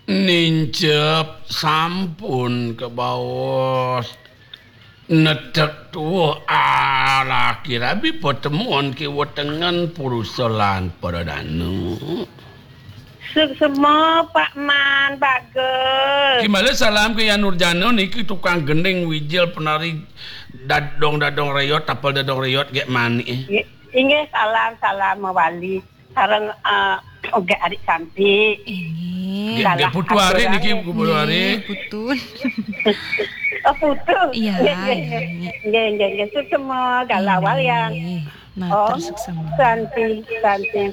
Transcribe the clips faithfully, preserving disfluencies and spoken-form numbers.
Nincep sampun kabaos. Netek tuuh alaki rabi patemon ki wetengen purusa lan para danu. Suksma, Pak Man, bagus. Kimala salam ke Yan Nurjana niki tukang gending wijil penari dadong-dadong reyot, tapel dadong reyot gek manik. Nggih, inggih, salam, salam mawali. Sareng, eh, ogek adik cantik. Inggih. Gek, gek putu arik niki, putu arik. Nggih, putu. Oh, putu. Iya, nggih, nggih, iya, nggih. Nggih, nggih, nggih. Suksma, galah walian. Nggih. Matur suksma. Santi, Santi,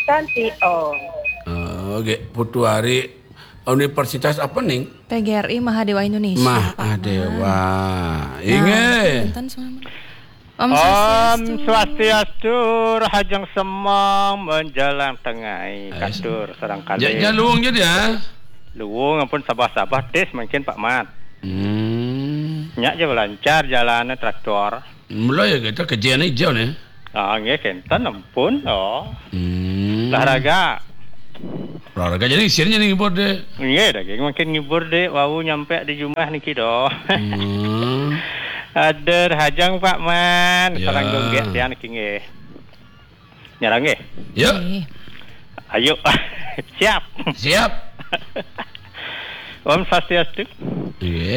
Santi, Om. Oh, gek putu arik. Universitas apa, Ning? P G R I Mahadewa Indonesia, Pak Man. Mahadewa. Nah, inggih. Punten, Om Swastiastu. Swastiastu, rahajeng semeng menjelang tengah. Katur sareng kalih. Ja, ja luung ja dia. Luung ampun sabah-sabah tis mungkin Pak Mat. Hmm. Nya ja lancar jalannya traktor. Mula ya kita kejene ijo nih. Ah, nggih kenten ampun, oh. Hmm. Olahraga. Olahraga jadi isinnya nih ngibur deh. Nggih, daging makin ngibur deh, wau nyampe di jumah niki doh. Hmm. Aduh, hajang Pak Man, ya. Sareng gonggek tian niki nggih. Nyerang nggih. Yuk. Nggih. Ayo. Siap. Siap. Om Swastiastu. Nggih.